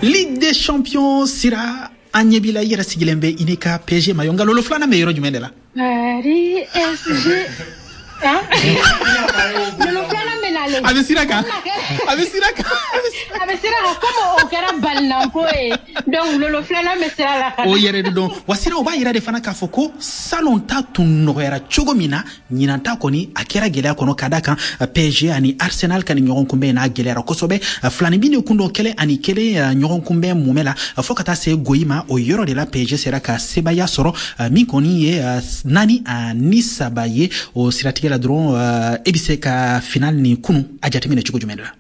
Ligue des champions, Sira, an ɲɛ b'i la, i yɛrɛ sigilen bɛ i n'i ka PSG maillot, nka lolo filanan bɛ yɔrɔ jumɛn de la? Paris SG. Hein? Lolo filanan bɛ nalen. A bɛ sira kan, a bɛ sira kan. A bɛ sira kan, comme o kɛra balinanko ye, donc lolo filanan bɛ sira la ka O yɛrɛ de dɔn wa. Sira, o b'a yira de fana k'a fɔ ko salon ta tun nɔgɔyara cogo min na, ɲinan ta kɔni a kɛra gɛlɛya kɔnɔ, ka da kan PSG ani Arsenal ka ni ɲɔgɔn kunbɛn n'a gɛlɛyara kosɛbɛ. Filani bin de kun don, 1-1 ɲɔgɔn kunbɛn mumɛ la, fɔɔ ka taa se goyi ma. O yɔrɔ de la PSG sera ka sebaya sɔrɔ, min kɔni ye 4-3 ye. O siratigɛ la dɔrɔn, e bɛ se ka final ni kunu a jateminɛ cogo jumɛn de la?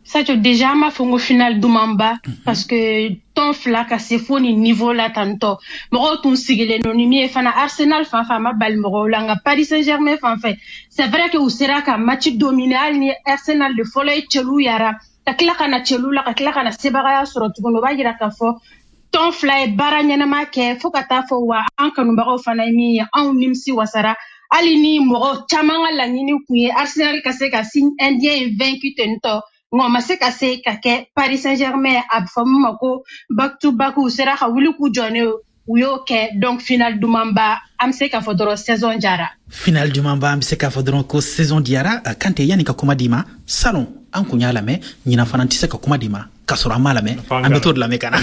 Sadio, déjà an b'a fɔ ko final dumanba, parce que tɔn fila ka se fo nin niveau la tantɔ, mɔgɔw tun sigilen don ni min ye fana. Arsenal fan fɛ, a ma bali mɔgɔw la, nka Paris Saint Germain fan fɛ, c'est vrai que u sera ka match dominer, hali ni Arsenal de fɔlɔ ye cɛlu yara ka tila ka na cɛlu la, ka tila ka na sebagaya sɔrɔ tuguni. O b'a yira k'a fɔ tɔn fila ye baara ɲɛnama kɛ fo ka taa fɔ wa an kanubagaw fana ye min ye, anw nimisi wasara, hali ni mɔgɔ caman ka laɲini kun ye Arsenal ka se ka signe indien in vaincu ten tɔ, nka o ma se ka se ka kɛ. Paris Saint Germain, a bɛ fɔ min ma ko back to back, u sera ka wuli k'u jɔ ne, u y'o kɛ. Donc final dumanba, an bɛ se k'a fɔ dɔrɔn saison jara. Final dumanba, an bɛ se k'a fɔ dɔrɔn ko saison diyara. Kante, yanni ka kuma d'i ma, salon an kun y'a lamɛn, ɲinan fana tɛ se ka kuma d'i ma k'a sɔrɔ an m'a lamɛn. An bɛ t'o de lamɛn ka na.